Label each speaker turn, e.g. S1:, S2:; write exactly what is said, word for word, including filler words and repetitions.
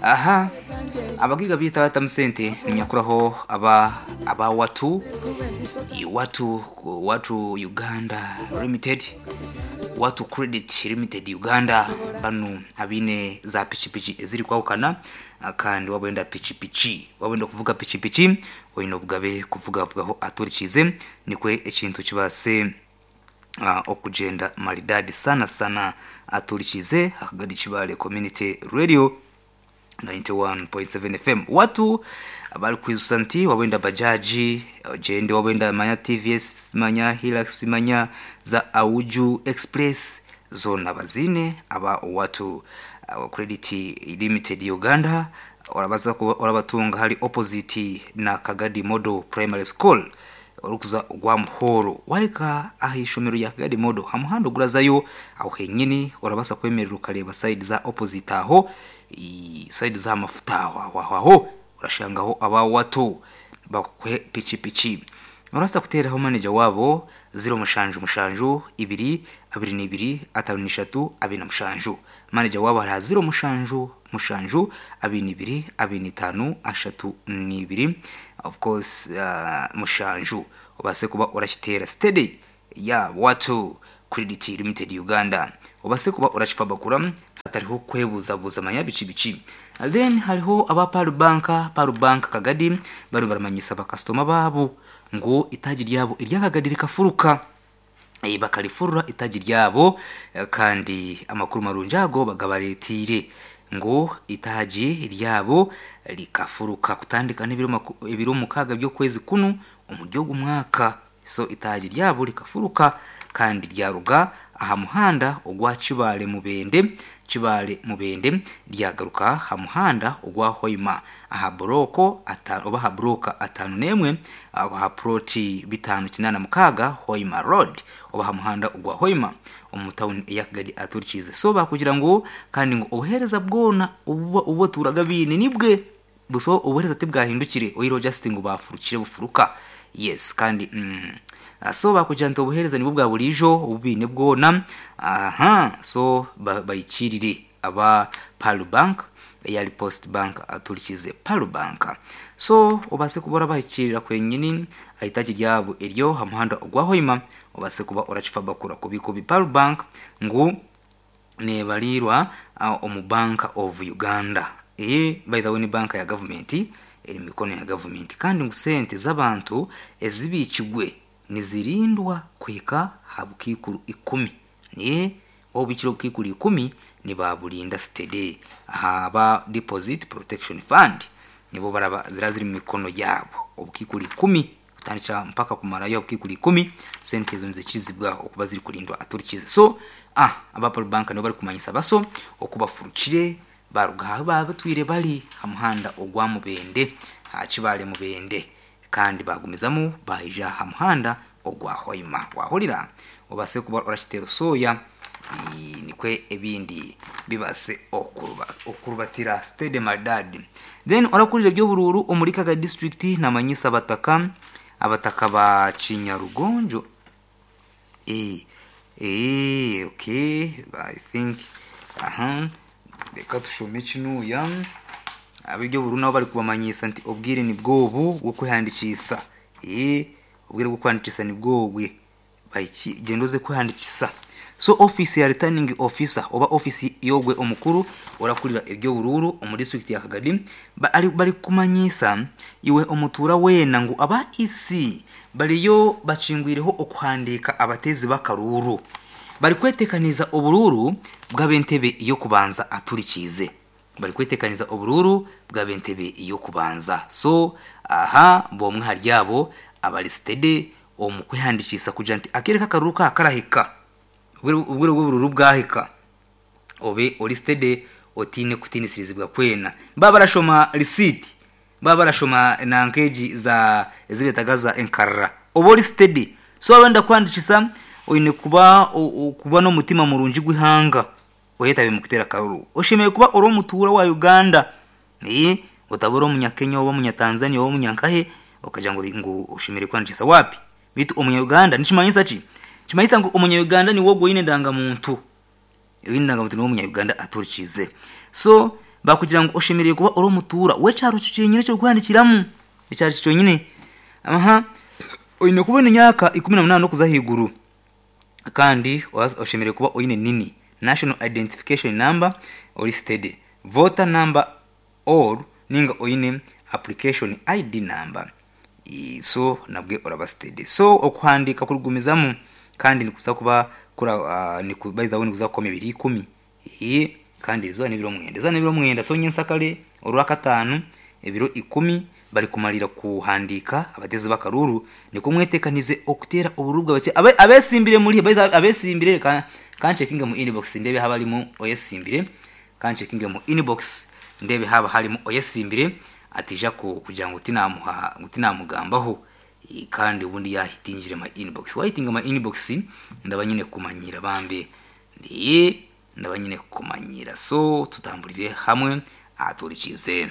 S1: Aha abagiga bita batamu sente ninyakuraho aba aba watu watu watu Uganda Limited, Watu Credit Limited Uganda. Bano abine za pichipichi eziri kwawukana, kandi wabwenda pichipichi, wabwenda kuvuga pichipichi oyina obugabe kuvugavugaho aturikize, nikwe ekintu kibase uh, okugenda maridadi sana sana. Aturikize Akagadi Kibale Community Radio ninety-one point seven F M. Watu bari kwizusa nti wabwenda bajaji ogende, wabwenda manya T V S, manya Hilux, manya za Auju Express, zona bazine aba Watu uh, Credit Limited Uganda. Orabaza orabatunga hari opposite na Kagadi Model Primary School, orukuza gwa Muhoro waika aha ishomero ya Kagadi Model, hamuhanda ogurazayo aho henyini orabasa kwemerera ukareba side za opposite aho i- side za mafuta aho aho aho aho urashangaho aba Watu bakwe pichipichi. Urasa kuteraho manager wabo zero mushanju mushanju ibiri abiri n'ibiri atanu n'ishatu abiri na mushanju. Manager wabo hari zero mushanju mushanju abiri n'ibiri abiri n'itanu ashatu n'ibiri, of course uh, mushanju. Ubase kuba urakitera steady ya Watu Credit Limited Uganda, ubase kuba urakifa bakura hatariho kwebuzabuza manya bici bici. Then hariho aba Paru Bank, Paru Bank Kagadi, bari baramanyisa bakasitoma babo ngo itagi ryabo iryakagadi rikafuruka. Eh, bakarifurura itagi ryabo, eh, kandi amakuru marungi ago bagabaretire ngo itagi ryabo rikafuruka kutandika n'ibiro maku- ibiro mukaaga by'okwezi kuno omuri ogu mwaka. So itagi ryabo rikafuruka kandi ryaruga aha muhanda ogwa Kibale Mubende, Kibale Mubende, ryagaruka aha muhanda ogwa Hoima aha boroko atano oba aha buroka atano n'emwe aha ploti bitano kinana mukaaga Hoima Road oba aha muhanda ogwa Hoima omu tawuni eyakagadi aturikize. So bakugira ngu kandi ngu obuheereza bwona obu obu baturaga biine nibwe buso, obuheereza tibwahindukire oyireho just ngu bafurukire bufuruka. Yes, kandi mm, ah, so bakugira nti obuheereza nibwo bwa burijo obubiine bwona aha. So ba- bayikirire aba Palu Bank eyali Post Bank aturikize Palu Bank. So obase kuba orabahikirira kwenyini ahitaki ryabo eryo ha muhanda ogwa Hoima, obase kuba orakifa bakura kubi kubi. Palu Bank ngu nebalirwa uh, omu Bank of Uganda. Iyi by the way ni banka ya gavumenti, eri mu mikono ya gavumenti, kandi ngu sente z'abantu ezibikigwe nizirindwa kuhika ha bukiikuru ikumi. Niye obikire obukiikuru ikumi nibaburinda steady ahaba Deposit Protection Fund, nibo baraba zira ziri mu mikono yabo obukiikuru ikumi kutandikira mpaka kumarayo obukiikuru ikumi, sente ezo nizikirizibwa okuba ziri kurindwa aturikize. So ah aba Palu Bank nibo bari kumanyisa baso okubafurukire baruga aho baba batwire bari ha muhanda ogwa Mubende, ha Kibale Mubende, kandi bagumizamu baija ha muhanda ogwa Hoima. Wahurira obase kuba orakitera soya i- nikwe ebindi bibase okuruba okurubatira steady maridadi. Then orakurira ebyobururu omuri Kaga District namanyisa abataka abataka ba Kinyarugonjo. Eh, eh, okay, I think aha reka tushome kinuya. Ab'ibyo buru nabo bari kubamanyisa nti obwire ni bwobu bwo kwehandikisa. Eh, obwire bwo kwandikisa ni bwobwe, bayiki genda oze kwehandikisa. So office ya returning officer oba office yogwe omukuru orakurira ebyo bururu omu district ya Kagadi ba, ari, bari kumanyisa iwe omutura wena ngu aba E C bariyo bakingwireho okuhandika abatezi b'akaruru bari kwetekaniza obururu bw'ab'entebe y'okubanza aturikize, bari kwetekaniza obururu bw'ab'entebe y'okubanza. So aha bomwe hari abo abari steady omu kwehandikisa kugira nti akereka akaruru ka karahika, obwire bw'obururu bwahika obe ori steady otine kutinisirizibwa kwena. Baba barashoma receipt, baba barashoma nankeji za ezibetaga za enkarra, oba ori steady. So abenda kwandikisa oine kuba o- o- kuba n'omutima murungi gw'ihanga oyetabe mu kutera akaruru. Oshemeye kuba ori omutuura wa Uganda, ee otaba ori omunyakenya oba omunyatanzania oba omunyankahe okagira ngu ngu oshemere kwandikisa wapi. Bitu omunya-Uganda nikimanyisa ki? Kimanyisa ngu omunya-Uganda niwe ogwo oine endangamuntu, oine endangamuntu niwe omunya-Uganda aturikize. So Bakugira ngu oshemereire kuba ori omutuura w'ekyaro kyenyine ekirikuhandikiramu ekyaro kyonyine. Aha, oine kuba oine emyaka ikumi na munaana okuza ahaiguru, kandi oshemereire kuba oine nini, national identification number, ori steady voter number or ninga oine application I D number. I- so nabwe oraba steady. So okuhandika kurigumizamu kandi nikuza kuba kura uh, niku, by the way, nikuza kukoma ebiri ikumi. Ee, kandi eizooba n'ebiro mwenda, eizooba n'ebiro mwenda. So nyensakare orwakataano ebiro ikumi bari kumalira kuhandika abatezi b'akaruru. Niko mwetekanize okuteera obururu bwabakye abe, abesimbire muri by the way, abesimbire ka kanchekinge mu inbox ndebe haba harimu oyesimbire. Kanchekinge mu inbox ndebe haba harimu oyesimbire atija ku, kugira ngu tinamuha, ngu tinamugambaho. Eh, kandi ubundi yahitingire my inbox, wahitinga my inbox, ndaba nyine kumanyira bambe, ndiye ndaba nyine kumanyira. So tutambulire hamwe aturikize.